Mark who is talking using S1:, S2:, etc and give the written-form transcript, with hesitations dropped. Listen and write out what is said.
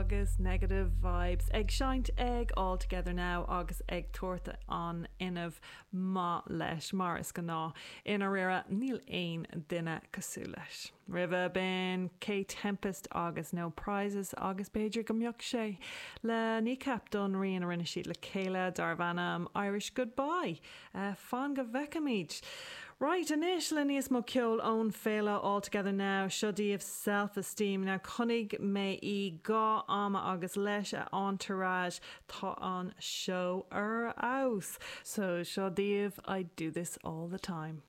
S1: agus Negative Vibes ag seinnt ag All Together Now agus ag tabhairt an fhuinnimh maith leis, mar is gnáth. I ndáiríre, níl aon duine cosúil leis. Roimhe b'in Kae Tempest agus No Prizes agus b'fhéidir go mbeadh sé le Kneecap don rian a rinne siad le chéile darbh ainm Irish Goodbye. Fan go bhfeicfimid. Right, anois le níos mó ceoil ón féile All Together Now, seo daoibh Self Esteem. Now chonaic mé í dhá ama agus leis a entourage tá an seó ar fheabhas. So seo daoibh I Do This All The Time.